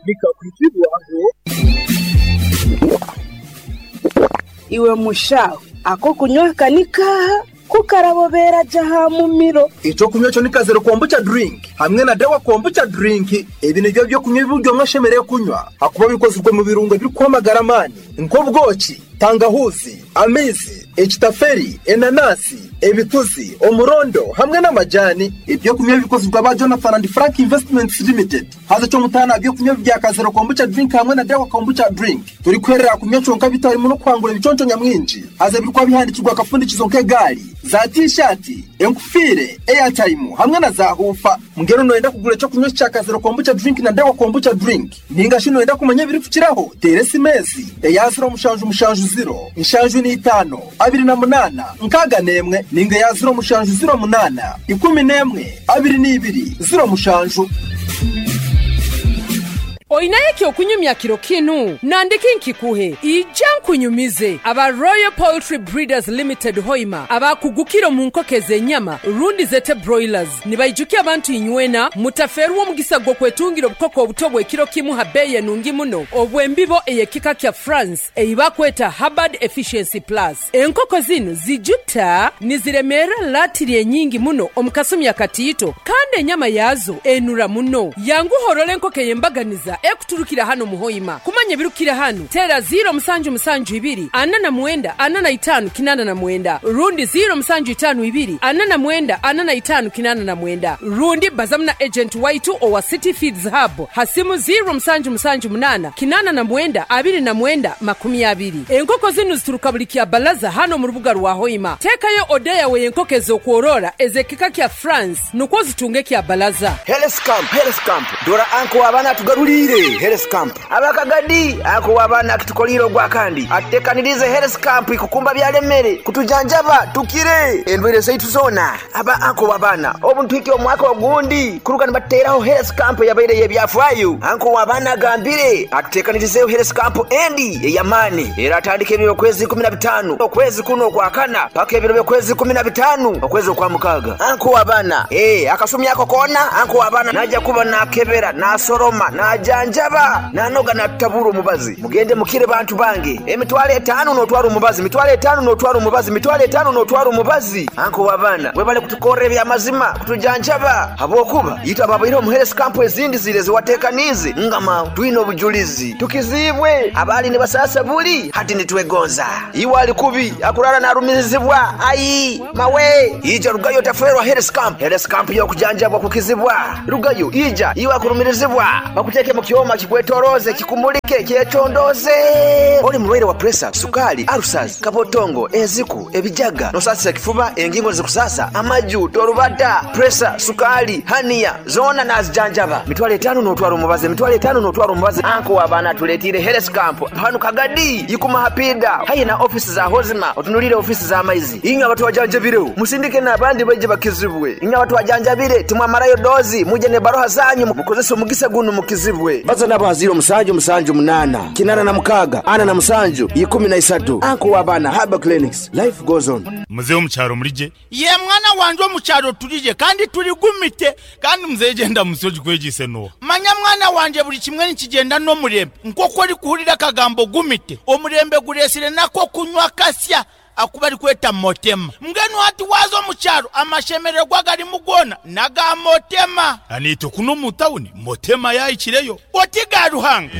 Nikakwitibwaho. Iwe mushaho, ak'okunywa aka ni kaaha ku karabobera gye aha mumiro? Eky'okunywa ekyo ni Kazero Kombucha Drink hamwe na Dawa Kombucha Drink. Ebi nibyo by'okunywa ebi buri omwe ashemereire kunywa ahakuba bikozirwe mu birungo ebirikuha amagara amaani nk'obwoki, tangahuuzi, amaizi, ekitaferi, enanasi, ebituzi, omurondo hamwe n'amajani. Eby'okunywa ebi bikozirwe aba Jonathan and Frank Investments Limited. Haza eky'omutaano aha by'okunywa ebi bya Kazero Kombucha Drink hamwe na Dawa Kombucha Drink, torikuherera aha kunywa kyonka beitu harimu n'okuhangura ebiconco nyamwingi. Haza ebirikuba bihandiikirwe aha kafundikizo nk'egaari, za tiishaati, enkufiire, eyataimu hamwe na zaahuufa. Mbwenu nooyenda kugura eky'okunywa eki kya Kazero Kombucha Drink na Dawa Kombucha Drink? Nainga shi nooyenda kumanya ebirikukiraho? Teera esimu ezi, eya ziro mushanju mushanju ziro, nshanju na itaano, abiri na munaana, nkaaga n'emwe, nainga eya ziro mushanju ziro munaana, ikumi n'emwe, abiri na ibiri, ziro mushanju. Oinayo eky'okunyumya kiro kinu? Nandiki nkikuhe? Ija nkunyumize. Aba Royal Poultry Breeders Limited Hoima abakugukire omu nkoko ez'enyama rundi zete broilers nibaijukya abantu inywena mutafeerwa omugisa gw'okwetungira obukoko obuto obw'ekiro kimu ha beeyi enungi muno obw'embibo ey'ekika kya France ei bakweta Hubbard Efficiency Plus. Enkoko zinu zijuta niziremeera latiri enyingi muno omu kasumi akatiito kandi enyama yaazo enura muno. Yanguha orole enkoko ey'embaganiza ekuturukira hanu omu Hoima. Kumanya ebirukukira hanu, teera ziiro musanju musanju ibiri ana na mwenda ana na itaanu kinaana na mwenda rundi ziiro musanju itaanu ibiri ana na mwenda ana na itaanu kinaana na mwenda rundi bazamu na agenti waitu owa City Feeds Hub ha simu ziiro musanju musanju munaana kinaana na mwenda abiri na mwenda 20. Enkoko zinu zituruka buli Kyabalaza hanu omu rubuga rwa Hoima. Teekayo oda yawe y'enkoko ez'okworora ez'ekika kya France nukwo ozitunge Kyabalaza. Health Camp, Health Camp, Dora anko w'abaana atugaruliire Health Camp. Abakagadi, anko w'abaana akitukoliire ogwakandi atutekaniriize Health Camp kukumba byalemere, kutujanjaba tukire endwaire zaitu zoona. Aba anko w'abaana obu nituhikya omwaka ogundi kuruga nibatuteraho Health Camp eyabaire ey'ebyafaayo. Anko w'abaana agambire atutekanirizeeho Health Camp endi ey'amaani eratandika ebiro by'okwezi 15 okwezi kunu okwakana paka ebiro by'okwezi 15 okwezi okwamukaaga. Anko w'abaana, Ee, akasumi ako koona anko w'abaana naija kuba naakebera, naasoroma, naajanjaba, naanoga naatutabura omubazi. Mugende mukire bantu bange. Emitwalo etaanu n'otwara omubazi, mitwalo etaanu n'otwara omubazi, mitwalo etaanu n'otwara omubazi. Anko w'abaana, webale kutukorra eby'amazima, kutujanjaba habwokuba itwe ababaireho omu health camp ezindi ziri ezi wateekaniize ngama twine obujulizi. Tukiziibwe abaali nibasaasa buli hati nitwegonza. Iwe ali kubi akurara narumirizibwa ai mawe ija rugayo otafeerwa health camp. Health camp y'okujanjabwa kukizibwa. Rugayo ija iwe akurumirizibwa bakuteeke mu kyoma kikwetoroze kikumulike kyekyondooze. Oli mulwaire wa puresa, sukaali, alusaazi, kabotongo, enziku, ebijaga, nosasisa ekifuba, engingo nizikusasa, amaju, torubata, puresa, sukaali, haniya zoona nazijanjaba. Mitwalo etaanu n'otwara omubazi, emitwalo etaanu n'otwara omubazi. Anko w'abaana atuleetiire health camp hanu Kagadi, Ikuma Hapiida haihi na ofiisi za Hozima otunuliire ofiisi z'amaizi. Inywe abatwajanjabireho musindike n'abandi baije bakizibwe. Inywe abatwajanjabire timwamarayo doozi mwije n'ebaruha zanyu mukozese omugisa gunu mukizibwe. Baza nabo ha ziiro musanju musanju munaana, kinaana na mukaaga, ana na musanju, ikumi na isatu. Anko w'abaana Herbal Clinics, life goes on. Muzei omu kyaro mulije. Ye mwana wanje omu kyaro tulije kandi tuligumite. Kandi muzei gyenda mu nsi ogikwegyeise n'oha? Manya mwana wanje buli kimwe nikigyenda n'omurembe. Nk'oku orikuhurira akagambo gumite, omurembe gureetsire n'ak'okunywa akasya aku barikweta Motema. Mbwenu hati waaza omu kyaro amashemererwa agarimu goona n'aga Motema. Naitwe kunu omu tawuni Motema yaahikireyo. Oti ga Ruhanga.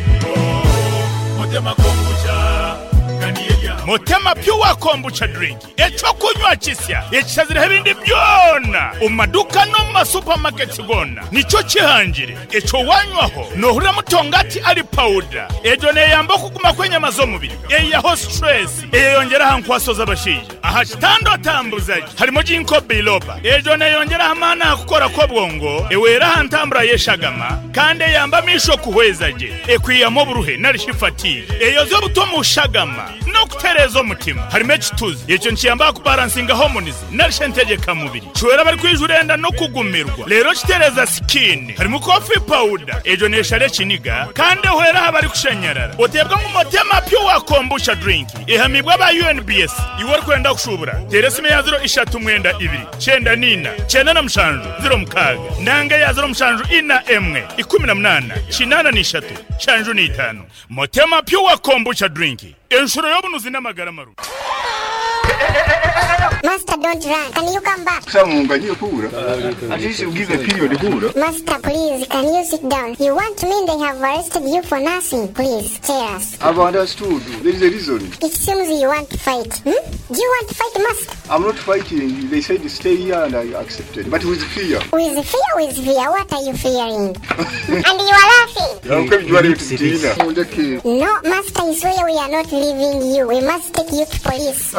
Motema Pure Kombucha Drink, eky'okunywa kisya ekishazireho ebindi byona omu maduuka n'omu ma supermarkets goona nikyo kihangire. Ekyo wanywaho nohurira mutongati ari pawuda. Egyo neyamba okuguma kw'enyama z'omubiri, eihaho stress, eyeyongyera aha nkwaso z'abashaija. Aha kitanda otambuza gye harimu Ginkgo biloba. Egyo neyongyera aha maani aha kukora kw'obwongo, ehwera aha ntambura y'eshagama kandi eyamba amaisho kuhweza gye. Ekwihamu oburuhe nari shi fatigue. Eyozya obutwa omu shagama. n'okutereeza omutima. Harimu ekituzi, ekyo nikiyamba aha kubaransinga hormones nari shi entegyekamubiri. Kihwera abarikwijura enda n'okugumirwa, reero kitereeza sikiini. Harimu coffee powder, egyo neeshara ekiniga kandi ehwera aha barikushanyarara. Oteebwa ngu Motema Pure Kombucha Drink ehamiibwe aba UNBS. Iwe orikwenda kushuubura, teera esimu eya ziro ishatu mwenda ibiri, kyenda na ina, kyenda na mushanju, ziro mukaaga, nanga eya ziro mushanju ina emwe, ikumi na munaana, kinaana na ishatu, nshanju na itaano. Motema Pure Kombucha Drink, enshuro y'obunuzi n'amagara marungi. Master, don't run. Can you come back? At least you give a period hura. Master, please, can you sit down? You want to mean they have arrested you for nothing? Please, tell us. I've understood. There is a reason. It seems you want to fight. Hmm? Do you want to fight, Master? I'm not fighting. They said stay here and I accepted. But with fear. With fear, with fear. What are you fearing? And you are laughing. No, Master, I swear we are not leaving you. We must take you to police.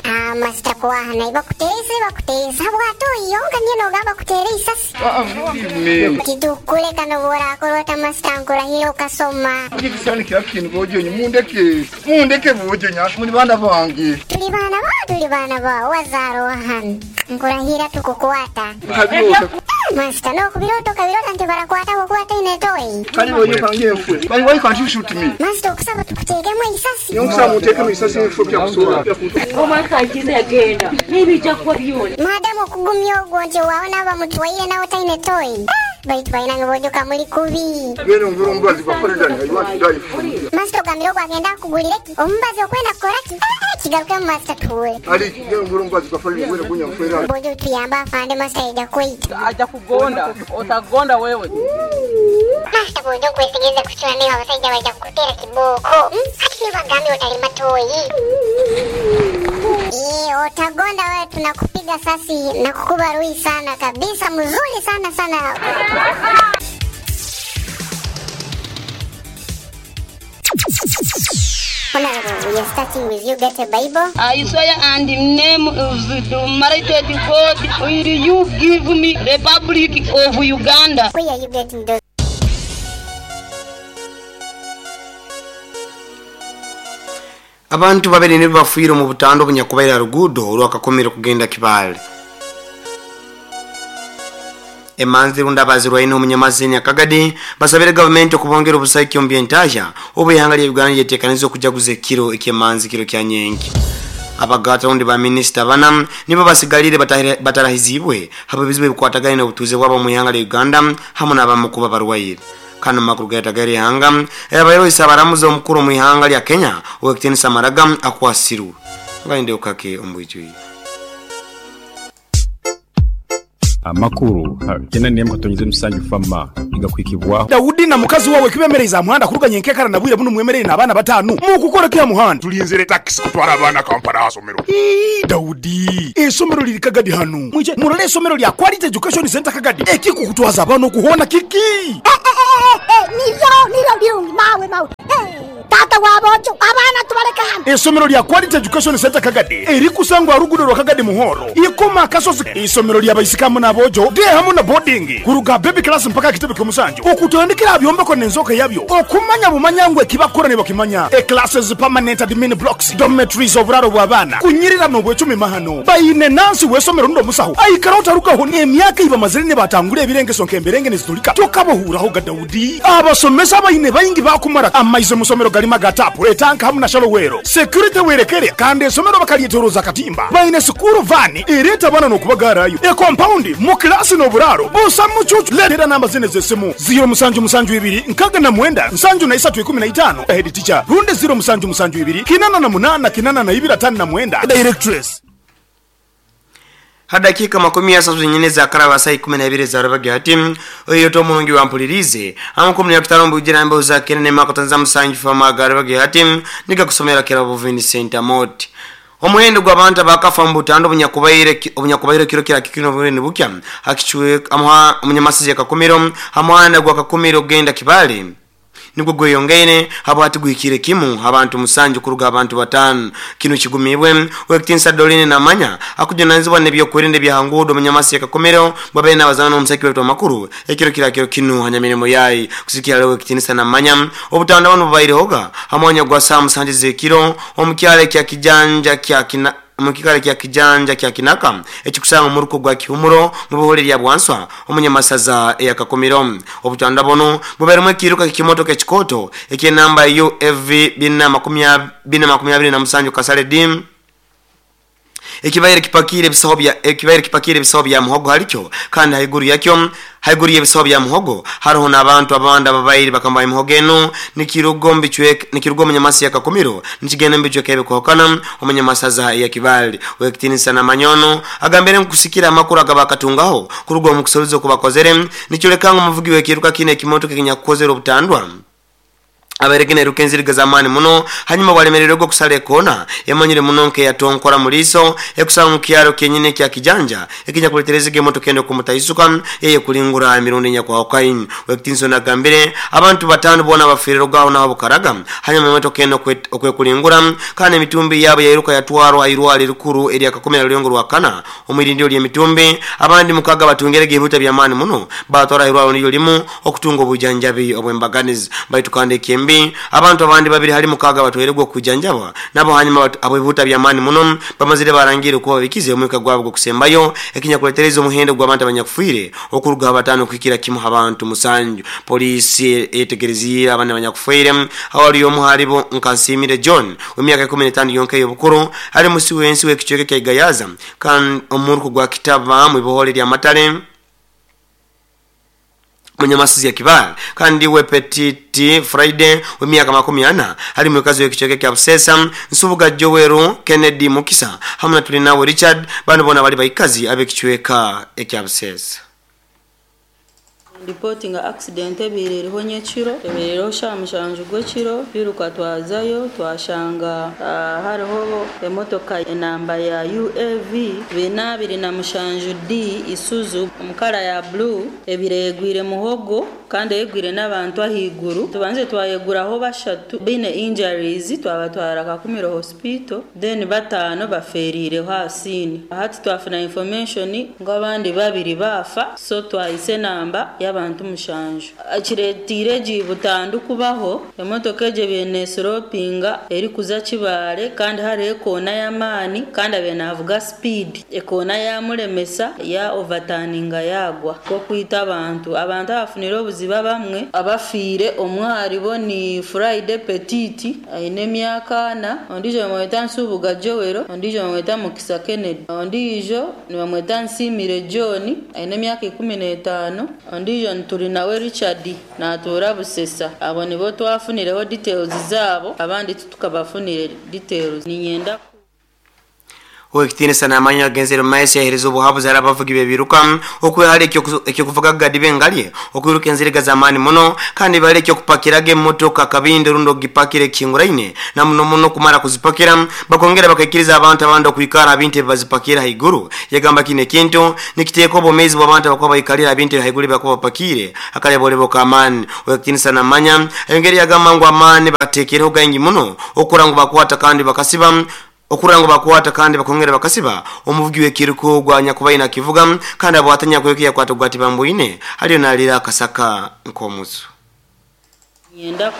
Ah, Master kuwahana bakuteese bakuteesa bw'atoyonga nye n'ogamba kuteera isasi tidukuleka noborakorota Master nkurahira okasoma. Mundeke mundeke bojonya muri bana bange. Tuli baana ba tuli baana ba wazaarwa hano nkurahira tukukwata. Master, n'okubirooto kabirota nti barakwata bukwata inetoyi. Kali bojo kange mfwe. Why can't you shoot me? Master, okusaba tukuteekemu isasi. Nyokusaba muteekemu isasi mfwe byakusobola. Madamu okugumya ogwo nti waawona bamutwaire nawe taine toyi. Baitu balina bojoka muli kubi. Genda omvura omubazi gwa president. I want to die for you. Master ogambire ogwo agenda akugulire ki? Omubazi okwenda kukora ki? Kigarukemu Master tuwe. Ali genda omvura omubazi gwa president gwena gunya mfwera. Bojo tuyamba afande Master ija kwita. Aja kugonda, utagonda wewe. Master bojo nkwesigeze kuchura niba abasajja baija kukutera kibooko. Hati nibagambe otalima toyi. Utagonda wewe, tunakupiga sasi na kukuba rui sana kabisa, mzuri sana sana. Honorable, we are starting with you. Get a Bible. I swear and in name of the Almighty God, will you give me Republic of Uganda? Where are you getting those? Abantu babiri nibo bafuire mu butando bunyakubaira rugudo olwakakomera kugenda Kibale. Emanzi rundabazirwa ino omunyamazini akagadi basabire gavumenti okubongera obusaiki omu by'entaahya obu ihanga lya Uganda lyeteekaniza okujaguza ekiro eky'emanzi kiro kya nyenki. Abagata rundi ba minisita bana nibo basigalire batarahizibwe habo ebizibu ebikwatagaine n'obutuuze bwabo mu ihanga lya Uganda hamwe n'abamu kuba barwaire. Kano makuru gaetagere ihanga abayobozi abaramuza omukuru mu ihanga lya Kenya Owekitiinisa Maraga akwasirwe ngainde ukake ombwijui. Amakuru kena niyemko tonyize musanju fama igakwikibwaho. Daudi na mukazi wawe kibemereza muhanda kuruganya enkekara na bwire buno mwemerere n'abaana batanu mu kukora kya muhanda tulinzire taxi kutwara abaana Kampala asomero. Daudi esomero liri Kagadi hano mwije murole esomero lya Quality Education Center Kagadi ekikukutwaza abana okuhona kiki niro birungi mawe mawe. Tata wabojo abana tubaleka hano. Esomero lya Quality Education Center Kagadi erikusangwa rugudo rwa Kagadi Muhoro ikoma kasozi. Isomero lya baisikamu n'abojo de hamwe na boarding kuruga baby class mpaka kitebe kyomusanju okutandikira byombeko n'enzoka yabyo okumanya bumanyangwe kibakora ne bakimanya e classes permanent admin blocks dormitories oburaro bw'abaana kunyirira n'obwecumi mahano bayine nansi wesomero ndo musaho aikara otarukaho emyaka ibamazire ne batangura ebirengeso nkemberenge nezitulika tokabohuraho ga Daudi abasomesa bayine bayingi bakumara amaize musomero galima gatapu etanka hamwe na shalowero security werekere kandi esomero bakalyetoroza katimba bayine sukuru vani ereta bana nokubagarayo e compound mu class n'oburaro busa mucucu letera namba zine zesimu 0 musanju musanju ibiri nkaga na mwenda nsanju na isatu ikumi na itano head teacher runde 0 musanju musanju ibiri kinana na munana kinana na ibira tano na mwenda directress. Hadakika 30 nyine za karaba saa 12 za rubaga hati oyo to mulungi wampulirize amukumni yakutanombu ujira mbe uzakene ne makotanza musanju fama garubaga hati nika kusomera kirabo Vincent Amoti. Omuhendo gw'abantu abakafa mu butando obunyakubaire kiro kira kikino bunene bukya hakichwe amuha omunyamasizi akakumiro hamuhanda gwa kakumiro genda Kibale. Nigwo gweyongeire habwati guhikire kimu abantu 7 kuruga abantu 5. Kino kigumibwe Owekitinisa Doreen Namanya akujunanizibwa n'ebyokwerinda ebya nguudo munyamasi Kakomero babaire n'abazana n'omusaki wetu amakuru ekiro kirakiro kinu hanyamirimo yayi kusikira leo Owekitinisa Namanya obutanda buno bubairehoga hamwanya gwa saa 7 z'ekiro omukyalo kya Kijanja kya Kina mukikale kya Kijanja kya Kinaka ekikusanga omuruko gwa Kihumuro mu buhole lya Bwanswa omunyamasaza eya Kakomero. Obutanda buno bubairemu ekiruka kikimotoka ekikoto eky'enamba UFV 427 Kasale D ekibaire kipakire ebisaho bya ekibaire kipakire ebisaho bya muhogo halikyo kandi haiguru yakyo haiguru y'ebisaho bya muhogo hariho n'abantu abandi ababaire bakambaye muhogo eno nikirugo mbichwek nikirugo omunyamasi ya Kakomero nikigenda mbichweka ebikohokana omunyamasaza ya Kibali. Owekitinisa Namanyono agambire nkusikira amakuru agabakatungaho kuruga omu kusoboza okubakozere nikyoleka ngu omuvugi w'ekiruka kino ekimotoka ekinyakukozere obutandwa abarekene rukenziriga zamani muno hanyuma balemererwa okusala ekona yamanyire muno nke yatonkora muliso ekusanga mu kyalo kyenyine kya Kijanja ekinyakuleterezege emotoka endo kumutaisuka yeye kulingura emirundi nyakwahokaini. Owekitinisa nagambire abantu 5 bona bafirirwaho naho bukaraga hanyuma emotoka eno okwekulingura kandi emitumbi yabo yairuka yatwarwa irwali rikuru erya Kakomera Rulyengo rwa kana omwirindiro ly'emitumbi abandi 6 batungerege ebibuta by'amaani muno batwara irwalo niyo limu okutunga obujanjabi obwembaganizi baitu kandi ekembi abantu abandi 2 hali 6 batweregwa kujanjabwa nabo hanyuma abo bibuta by'amaani muno bamazire barangire kuba bikize omwika gwabo gokusembayo ekinyakuletereza omuhendo gw'abantu abanyakufiire okuruga 5 kuhikira kimu abantu 7. Polisi etegereziire abana abanyakufiire awali omu halibo Nkansimire John w'emyaka 15 yonka y'obukuru ali musi w'ensi w'ekicweka kya Igayaza kandi omuruko gwa Kitaba mu ibohole lya Matale munyamasizi ya Kibali kandi we Petit Friday w'emyaka 40 ali mukazi w'ekicweka kya Busesa Nsubuga Joweru Kennedy Mukisa hamwe na Tulinawe Richard bano bona bali baikazi ab'ekicweka ekya Busesa. Reporting accident ebireereho nyekiro ebireereho sha 7 gw'ekiro biruka twazayo twashanga hariho emotoka enamba ya UAV 427D Isuzu omukara ya blue ebiregwire muhogo kandi egwire n'abantu ahiguru tubanze twayeguraho 3 bine injuries twabatwara Kakumiro hospital then 5 baferire hasini hati twafuna information ngo abandi 2 bafa so twayise namba y'abantu 7 akiretire jibutandu kubaho emotoka eje byenesoropinga eri kuza Kibale kandi hari ekona y'amaani kandi abenavuga speed ekona yamulemesa ya overturninga yagwa ko kwita abantu abafunire obuziba bamwe abafiire omwari bo ni Friday Petit aine emyaka 4 ondijo bamweta Nsubuga Joel ondijo bamweta Mukisa Kennedy ondijo nibamweta Nsimire John aine emyaka 15 ondijo Nturinawe Richard natura Busesa. Abo nibo twafunireho details zabo abandi tukabafunire details ninyenda. Owekitinisa Namanya agenzere maesi yahereza obuhabuzi hari abavugi bebiruka okwehali ekyokuvuga gadi bengalye okwiruka enziriga z'amaani muno kandi bali ekyokupakiraga emotoka kabindi rundi ogipakira ekihinguraine na muno muno kumara kuzipakira bakongera bakaikiriza abantu abandi okwikara abintu ebibazipakira haiguru. Yagamba kino ekintu nikiteeka obwomeezi bw'abantu abakuba baikalira abintu haiguru ebibakuba bapakire akalebolebo k'amaani. Owekitinisa Namanya ayongere yagamba ngu amaani bateekereho gaingi muno okukora ngu bakwata kandi bakasiba okurango bakwata kandi bakongera bakasiba omuvugi w'ekiruko gwa nyakubaina kivuga kandi abwatanya kwekya kwata gwati bambuine haliyo nalira akasaka nkomuzu. Nyenda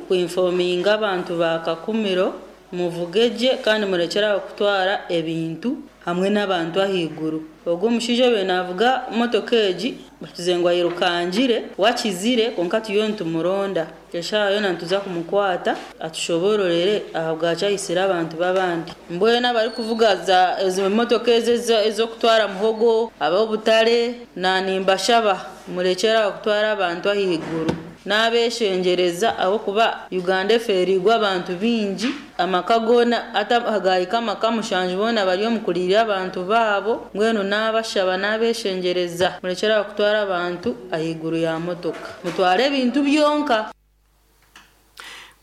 kuinforminga abantu ba Kakumiro muvugeje kandi murekera kutwara ebintu hamwe n'abantu ahiguru. Ogwo omushaija obe navuga motoka egi bakizengwa yirukangire wakizire konka tuyo ntumuronda eshayo nantuza kumukwata atushobororere ahabwacyayisira abantu babandi mbwena abari kuvuga za ezo motoka ezokutwara muhogo abobutare na nimbashaba murekera kutwara abantu ahiguru n'abeshengereza aho kuba Uganda eferigwa abantu bingi amaka gona atahagayika amaka 7 bona bari omukulirira abantu babo mbwenu n'abashaba n'abeshengereza murekera kutwara abantu ahiguru ya motoka mutware ebintu byonka.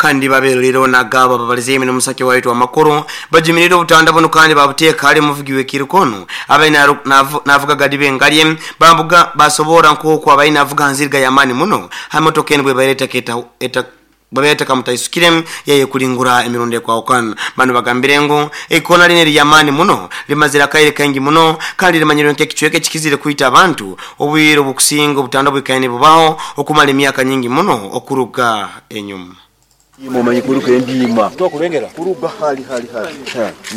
Kandi babererero nagabo babalize emino musake waitu amakuru bajumirire obutanda buno kandi babuteeka ali muvugi w'ekirukono abaina navuga gadibe ngalye bambuga basobora nk'oku abaina avuga nzirga yamani muno hamotoka eno bwe bareta keta eta babeta kamutaisukire yeye kulingura emirundi kwa okana bano bagambire ngo ikona line lyamani muno limazira kaire kangi muno kandi limanyirwe nk'ekichweke kikizire kuita abantu obwiro bukusinga obutanda bwikaine bubaho okumala emyaka nyingi muno okuruga enyuma. Mumanyi kuruka endima tokulengera kuruga hali hali hali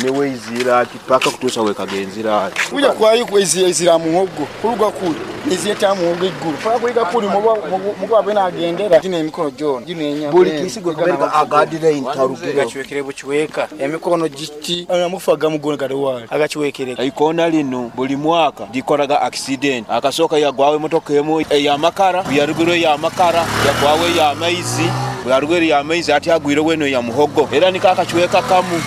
newe izira kipaka kutusa wekagenzira kuja kwayi kwezi izira muhogo kuruga kuli niziyeta muhogo iguru paka kuiga kuli mugwa bena agendera gine emikono jona gine enya buli kisigo kabereka agadira intarugiro gachiwekere buchiweka emikono giti amufaga mugona gadowali agachiwekere ikona lino buli mwaka dikoraga accident akasoka yagwawe motoka emu ya makara yarugiro ya makara yagwawe ya maizi yarugiro ya maizi ati agwire weno ya muhogo era nikakachiweka kamu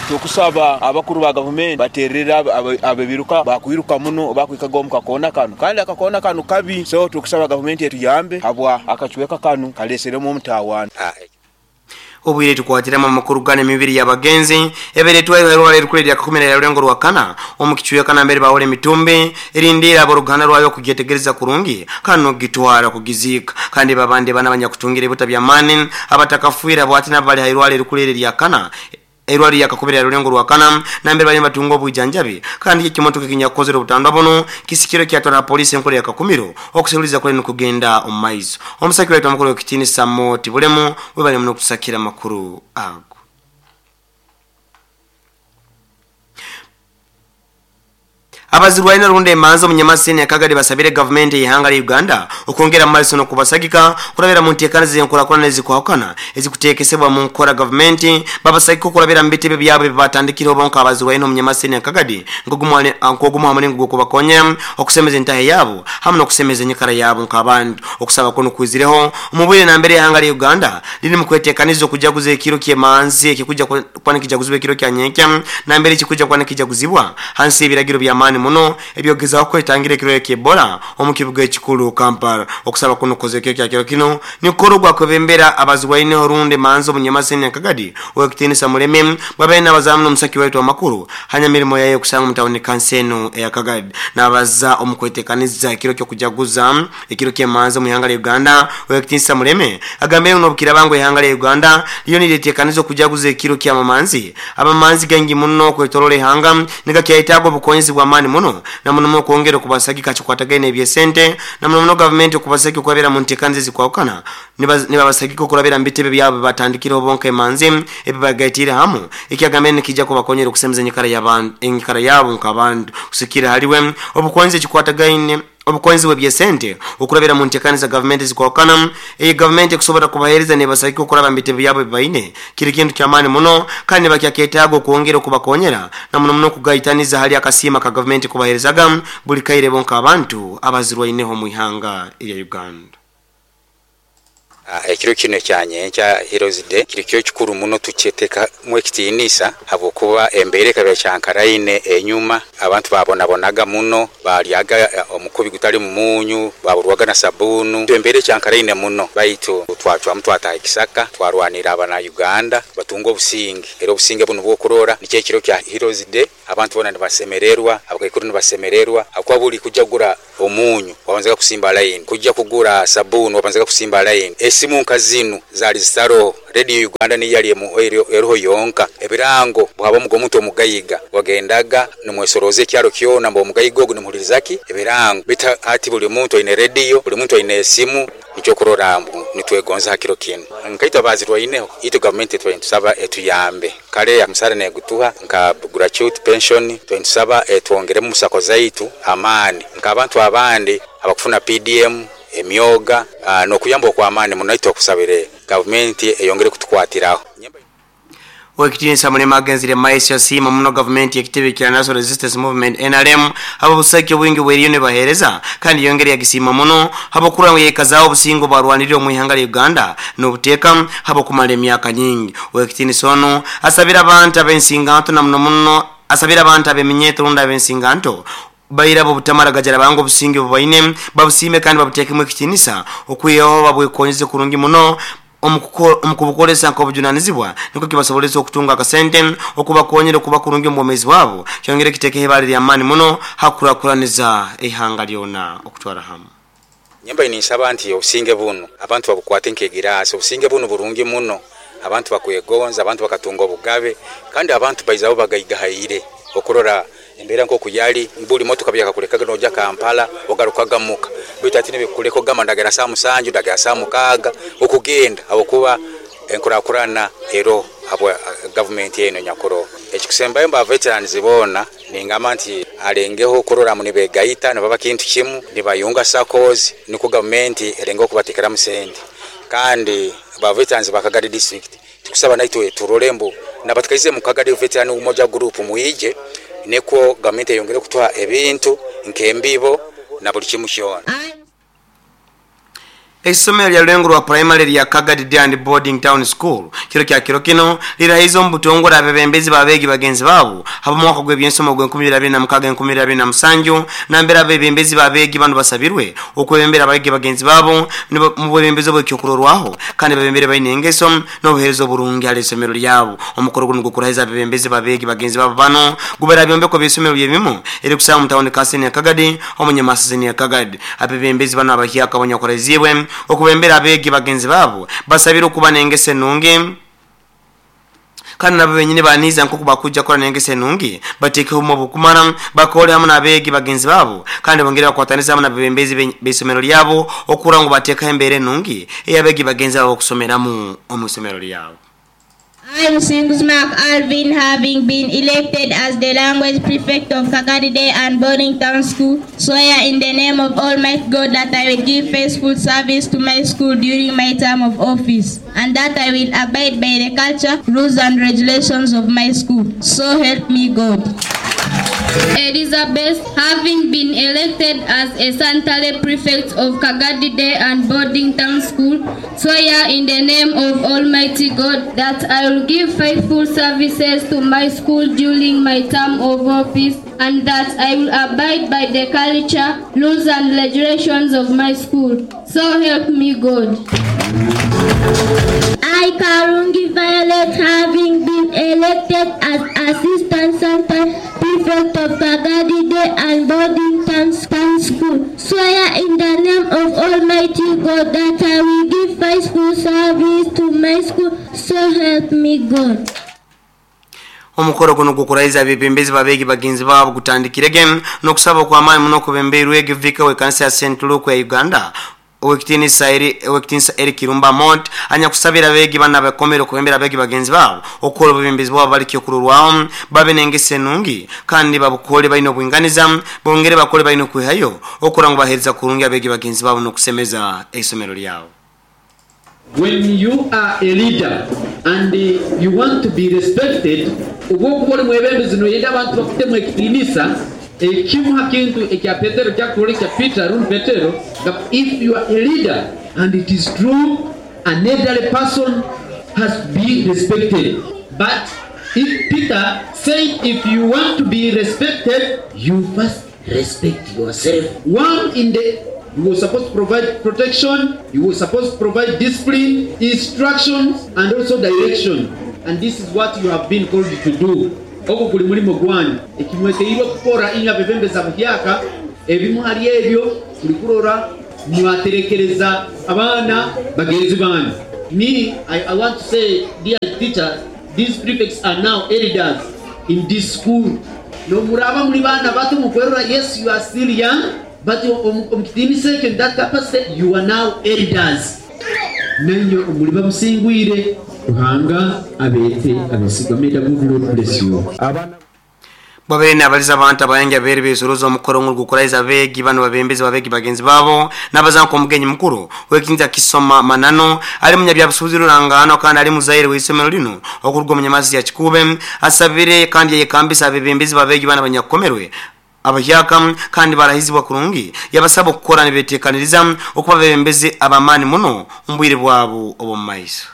tukusaba abakuru ba government baterera abebiruka bakwiruka muno bakwikaga mu kakona kanu kandi akakona kanu kabi so tukusaba government etuyambe habwa akachiweka kanu kaleseremo omutawana. Obwire tukwatirama makuru gane mibiri y'abagenzi ebere twayo rukule lya 10 ya rulengo rwakana omukichuya kana mbere bawole mitumbe erindira aboruganda rwayo kugetegereza kurungi kano gitwara kugizika kandi babande bana abanyakutungira ebuta bya mani abatakafuira bwati nabali hairwale rukule lya kana erwali yakakubira rulengo rwakana nambere bali batungo obujanjabi kandi ekimotoka kinyakozera obutandwa buno kisikiro kyatwara polisi enkole yakakumiro okuseruliza kule nokugenda omumaiso. Omusaki waitu amakuru ekitini Samoti Bulemu webali muno kusakira makuru ago. Abazirwaina runde emanzo munyamaseni akagadi basabire government y'ihanga lya Uganda okwongera amaiso n'okubasagika kurabira mu nteekana z'enkulaakulana ezikwahukana ezikuteekesebwa mu nkola government babasagika okurabira mu bitebe byabwe bibatandikire obonka abazirwaina omunyamaseni akagadi nk'ogumu hamwe gw'okubakonya okusemeza entahe yabo hamwe n'okusemeza enyikara yabo nk'abantu. Okusaba kuno kwizireho omubwire nambere y'ihanga lya Uganda liri mu kweteekaniza okujaguza ekiro ky'emanzi ekikuja kwana kijaguzibwa ekiro kya nyenkya nambere ekikuja kwana kijaguzibwa hansi y'ebiragiro by'amaani muno ebyogezaho kwetangira ekiro ky'Ebola omu kibuga ekikulu Kampala. Okusaba kuno kukozekyo kya kiro kino nikoro gwakwebembera abazirwaine orunde manzo munyamaseni akagadi owekitiinisa Muleme babaine abazamu n'omusaki waitu amakuru hanya mirimo yayo kusanga mutawuni kanseno eyakagadi n'abaza omu kweteekaniza ekiro ky'okujaguza ekiro ky'emanzi mu ihanga lya Uganda. Owekitiinisa Muleme agambire n'obukira bango ihanga lya Uganda liyo niryeteekaniza okujaguza ekiro ky'amamanzi abamanzi gangi muno okwetorola ihanga nigakyayetaaga obukonyezi bw'amaani muno na muno okwongera okubasagika kikwatagaine ebyesente na muno government okubasagika okurabira mu nteekaniza ezikwahukana nibabasagika okurabira mu bitebe byabo batandikire obonka emanzi ebibagaitire hamu ekyagambire nikijja kubakonyera okusemeza enyikara yabo nk'abantu kusikira haliwe obukonyezi ekikwatagaine obukonzi bw'ebyesente okurabira mu nteekaniza government zikwahukana eyi government ekusobola kubaheereza nebasagika okuraba mu bitebe byabo bibaine kiri kintu ky'amaani muno kandi nibakyaketaaga okwongera okubakonyera na muno muno okugaitaniza hali akasiima ka government kubaheerezaga buli kaire bonka abantu abazirwaineho mu ihanga erya Uganda. Ekiro kino ekyanyenkya Heroes Day kiri kyo kikuru muno tukyeteeka mu ekitiinisa habwokuba embeera ekaba kyankaraine enyuma abantu babonabonaga muno balyaga omukubi gutali mumunyu baburwaga na sabunu embeera ekyankaraine muno baitu twacwamu twataha ekisaka twarwanira abana Uganda batunga obusinge era obusinge buno bwokurora nikyo ekiro kya Heroes Day abantu bona nibasemererwa abakaikuru nibasemererwa akuba buli kujja kugura omunyu wabanzaga kusimba line kujja kugura sabunu wabanzaga kusimba line esimu nka zinu zali zitaro Radio Uganda ni yali eruho yonka ebirango bwaba omuntu omugayiga wagendaga nimwesoroze ekyalo kyona mba omugayiga ogu nimuhulirizaki ebirango bita ati buli muntu aine radio buli muntu aine esimu nikyo kurora mbu nitwegonza hakiro kinu nkaitwa bazirwaineho itu government twentusaba etuyambe kale musara negutuha nka gratuity pension twentusaba etwongeremu musako zaitu amaani nka abantu abandi abakufuna PDM emyoga nokuyamba okwamaani muno okusabire government eyongere kutukwatiraho. Wekitiinisa Mulema agenzire maiso yasiima muno government ekitebe kya National Resistance Movement NRM abo busaki obwingi bweriyo nebaheereza kandi yongere yagisiima muno habokura ngu yekazaawo obusingo bwarwanirire omu ihanga lya Uganda n'obuteeka habokumala emyaka nyingi. Wekitiinisa ono asabira abantu ab'ensinganto na muno muno asabira abantu ab'eminyeeto rundi ab'ensinganto baira butamara gajara bango obusinge bubaine babusime kandi babuteekemu ekitiinisa okwihaho babwekonyeze kurungi muno Omukubukolesa nk'obujunanizibwa niko kibasobolesa okutunga akasente okubakonyera okuba kurungi omu bwomezi bwabo kyongere kitekeho ibara ly'amaani muno hakurakuraniza eihanga lyona okutwara hamu. Nyemba ninsaba nti obusinge bunu abantu babukwate nk'egiraasi. Obusinge bunu burungi muno, abantu bakwegonza, abantu bakatunga obugabe, kandi abantu baizaho bagaigahaire okurora embeera nk'oku yali. Buli motoka byakakulekaga noja Kampala ogarukaga muka, baitu hati nibikukuleka ogamba ndagera saaha 7, ndagera saaha 6 okugenda habwokuba enkurakurana eroho habwa gavumenti enu enyakuroho. Ekikusembayo ba veterans boona ningamba nti alengeho kurora ngu nibegaita nibaba kintu kimu, nibayunga SACCOs nukwo gavumenti erengeho kubatekeramu sente. Kandi ba veterans ba Kagadi district tukusaba naitwe turole mbu nabatukaize mu Kagadi Veteran Umoja Group mwije nikwo gavumenti eyongere kutuha ebintu nk'embibo na buli kimu kyona. Eisomero lya Rulengo rwa Primary lya Kagadi Day and Boarding Town School kiro kya kiro kino lirahize omu butongore abebembezi b'abeegi bagenzi baabo habw'omwaka gw'ebyensomo ogwa 2026-2027 nambere abebembezi b'abeegi banu basabirwe okwebembera abeegi bagenzi baabo mu bwebembezi obw'ekyokurorwaho kandi babembere baine engeso n'obuheereza oburungi hali isomero lyabo. Omukoro guno gukurahiza abebembezi b'abeegi bagenzi baabo bano gubera byombeko by'isomero byebimu erikusanga mu tawuni kansini ya Kagadi omunyamasizini ya Kagadi. Abebembezi bano abahyaka abanyakurahizibwe okubembera abeegi bagenzi baabo basabire okuba n'engeso enungi kandi nabo benyini baniiza nk'oku bakujja kukora n'engeso enungi bateekeho obumu obukumara bakole hamu n'abeegi bagenzi baabo kandi bongere bakwatanisa hamu n'abebembezi b'isomero lyabo okurora ngu bateekaho embeera enungi ey'abeegi bagenzi baabo okusomeramu omu isomero lyabo. I, Musinguzi Mark Alvin, having been elected as the language prefect of Kagadi Day and Boarding Town School, swear in the name of Almighty God that I will give faithful service to my school during my term of office, and that I will abide by the culture, rules, and regulations of my school. So help me God. Elizabeth, having been elected as a Santale prefect of Kagadi Day and Boarding Town School, swear in the name of Almighty God that I will give faithful services to my school during my term of office, and that I will abide by the culture, rules, and regulations of my school. So help me God. I, Karungi Violet, having been elected as Assistant Santa Prefect of Kagadi Day and Boarding Town School, swear in the name of Almighty God that I will give faithful service to my school. So help me God. Omukoro guno gukurahiza abebembezi b'abeegi bagenzi baabo gutandikirege n'okusaba okw'amaani muno okubembeirwe vika w'ekanisa ya St. Luke ya Uganda owekitinisa Eric Kirumba Mont anyakusabira abeegi bana bakomere okubembera abeegi bagenzi baabo okukola obubembezi bwabo balikyo okurorwaho babe n'engeso enungi kandi babukole balina obwinganiza bongere bakole balina okwihayo okura ngu baheereza kurungi abeegi bagenzi baabo n'okusemeza eisomero lyabo. When you are a leader and you want to be respected, obwokuba oli mwebembezi noyenda abantu bakutemu ekitiinisa, ekimu ha kintu ekya Petero kyakurora ekya Peter rundi Petero, that if you are a leader and it is true, an elderly person has to be respected. But if Peter said if you want to be respected, you first respect yourself. One in the You were supposed to provide protection, you were supposed to provide discipline, instructions, and also direction. And this is what you have been called to do. Ogwo guli mulimo gwanyu. Ekimweteirwe kukora inywe abebembezi buhyaka, ebimu hali ebyo tuli kurora mwaterekereza abaana bagenzi banyu. Me, I want to say, dear teachers, these prefects are now elders in this school. Nomuraba muri bana bato mukwerora, yes, you are still young, but omukitiinisa ekyo in that capacity, you are now elders. Nenyo omuli bamusingwire, Ruhanga abeete abesigwa. May the good Lord bless you. Bwabere nabaliza abantu abayanja beri besuruza omukoro ngukurahiza abeegi bano babembezi babeegi bagenzi baabo n'abazanka omugenyi mukuru wekinza kisoma manano ali munyabyabusuubuzi rurangano kandi ali muzaire w'isomero lino okuruga omunyamasi ya Kikube asabire kandi yayekambisa abebembezi babeegi bano abanyakukomerwe abahyaka kandi barahizibwa kurungi yabasaba okukora nibeteekaniriza okuba abebembezi abamaani muno omu bwire bwabo obw'omu maiso.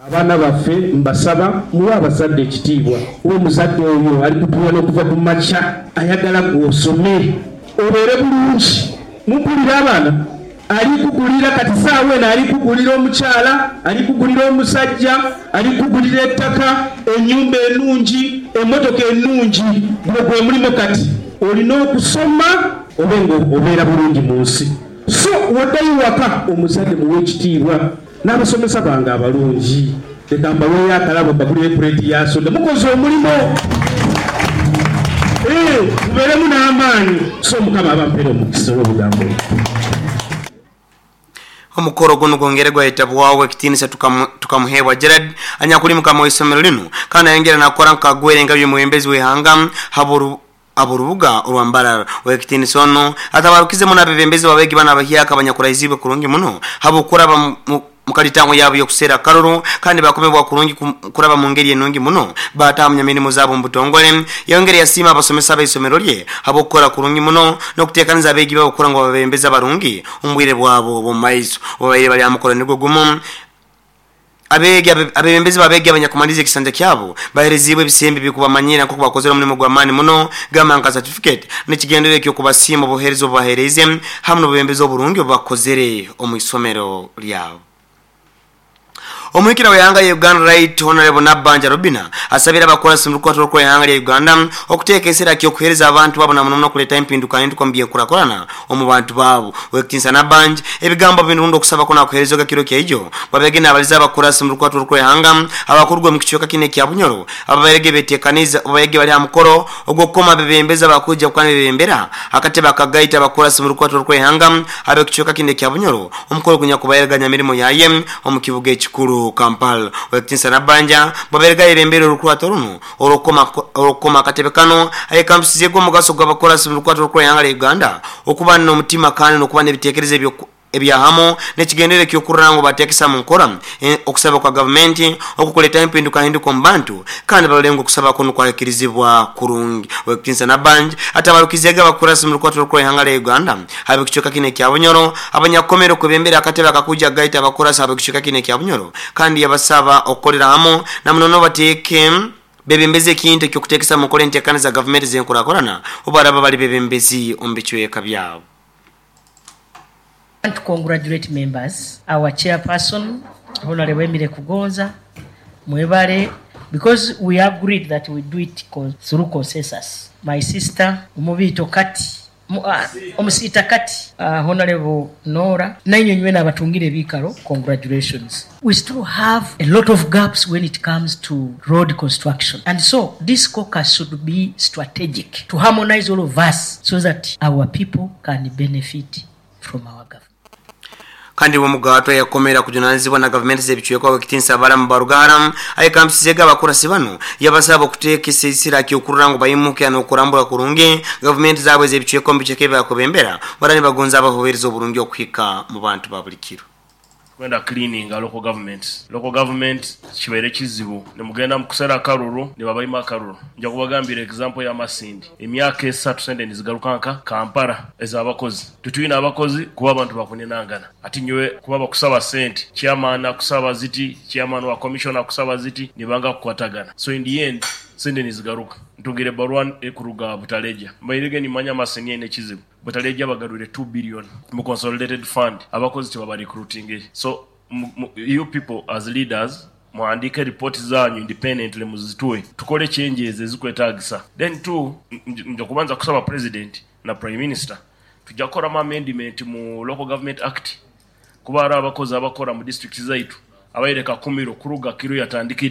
Abaana baffe mbasaba muwe abazadde ekitiibwa. Uwe muzadde oyo ali kutuwa n'okuva ku makya ayagala gw'osome obeere bulungi. Mumpulira abaana? Alikugulira kati saawa eno, alikugulira omukyala, alikugulira omusajja, alikugulira ettaka, ennyumba ennungi, emmotoka ennungi. Guno gwe mulimu kati olina okusoma obe nga obeera bulungi mu nsi. So woddayo waka, omuzadde muwe ekitiibwa. N'abasomesa bange abalungi, leka mbaweeyo akalabo, mbagulire puleeti ya soda. Mukoze omulimu, mubeeremu n'amaanyi. So Mukama abampeera omukisa olw'obugambo. Omukoro guno gwongere gwayitabwawo ekitiinisa Tukamuhebwa Gerard, anyakuli mukama w'isomero lino, kandi ayongera nakora nkagwere nga by'omwebembezi w'ihanga aborubuga orwambarara. Wekitiinisa ono atabarukizemu n'abebembezi babegi bana abahyaka abanyakuraizibwe kurungi muno habwokuraba mukalitango yabo yokusera akaruru, kandi bakomebwa kurungi kuraba mu ngeri enungi muno batahamya mirimu zabo mu butongole. Yongere yasiima abasomesa b'isomero lye habwokukora kurungi muno n'okuteekaniza abeegi babo kukora ngu babebembezi abarungi omu bwire bwabo bw'omu maiso. Obubaire bari aha mukoro nigwo gumu, abegi abebembezi babegi abanyakumaliza ekisanja kyabo bahereziibwe ebisembe bikubamanyira nk'oku bakozere omulimu gw'amaani muno, gamba nka certificate, n'ekigendero eky'okubasiima obuheereza obubahereize hamwe n'obubembezi oburungi obubakozere omu isomero ryabo. Omuhikira w'ihanga lya Uganda, Right Honorable Nabbanja Robina, asabire abakurasi mu rukwata rw'okukora ihanga lya Uganda okuteeka esira ky'okuheereza abantu babo na muno muno okuleeta empindukahinduka omu by'enkurakurana omu bantu baabo. Owekitinisa Nabbanja ebigambo binu rundi okusaba kunu akuheerezege kiro kyaijo babege nabaliza abakurasi mu rukwata rw'okukora ihanga abakurugwa omu kicweka kinu ekya Bunyoro ababairege beteekaniza babairege bali aha mukoro ogw'okukoma abebembezi abakwija kuba nibebembera akatebe akagaita abakurasi mu rukwata rw'okukora ihanga ab'ekicweka kinu ekya Bunyoro, omukoro gunyakubairega Nyamirimo yaye omu kibuga ekikuru Kampala. Owekitinisa Nabbanja bwabairege ayebembere orukwato runu orw'okukoma akatebe kano, ayekambisizeege omugaso gw'abakurasi mu rukwata rw'okukora ihanga lya Uganda okuba n'omutima kandi n'okuba n'ebiteekerezo ebyahamu n'ekigendero eky'okurora ngu bateekesa mu nkora okusaba kwa gavumenti okukuleetaho empindukahinduka omu bantu, kandi barole ngu okusaba kunu kwahikirizibwa kurungi. Owekitinisa Nabbanja atabarukizeege abakurasi mu rukwata rw'okukora ihanga lya Uganda ab'ekicweka kinu ekya Bunyoro abanyakukomere okwebembera akatebe akakwija kugaita abakurasi ab'ekicweka kinu ekya Bunyoro, kandi yabasaba okukolera hamu na muno bateeke bebembezi ekintu eky'okuteekesa mu nkora enteekaniza za gavumenti z'enkurakurana obu baraba bali bebembezi omu bicweka byabo. I want to congratulate members, our chairperson, Honorable Emily Kugonza, mwebale, because we agreed that we do it through consensus. My sister, Omubito Kati, Omusita Kati, Honorable Nora, nainywe nywena abatungire ebikaro, congratulations. We still have a lot of gaps when it comes to road construction. And so this caucus should be strategic to harmonize all of us so that our people can benefit from our government. Kandi omugato yakomera kujunanizibwa na gavumenti z'ebicweka, Owekitinisa Balamu Barugahara, ayekambisizeege abakurasi bano, yabasaba okuteeka esisira kyokurora ngu baimuke n'okurambura kurungi gavumenti zaabwe ez'ebicweka omu bicweka ebyakubembera bara nibagonza abahuhereza oburungi okuhika mu bantu ba buli kiro. Kwenda cleaning local governments. Local government kibaire kizibu, nimugenda mukusera akaruru nibabaima akaruru. Nja kubagambira example ya Masindi, emyaka 3 sente nizigaruka nka Kampala ez'abakozi. Tutwine abakozi kuba abantu bakuninangana ati nyowe kuba bakusaba sente, chairman akusaba ziti, chairman wa commission akusaba ziti, nibanga kukwatagana. So in the end sente nizigaruka. Ntungire barua ekuruga Butaleja, mbairege nimanya Masindi ene kizibu. Butaleja bagarwire 2 billion mu consolidated fund, abakozi tebaba recruiting. So you people as leaders muhandike report zanyu independently, muzituwe, tukole changes ezikwetagisa. Then two, nja kubanza kusaba president na prime minister, tujja kukoramu amendment mu Local Government Act, kuba hari abakozi abakora mu district zaitu abaire kakumiro kuruga kiro yatandikire.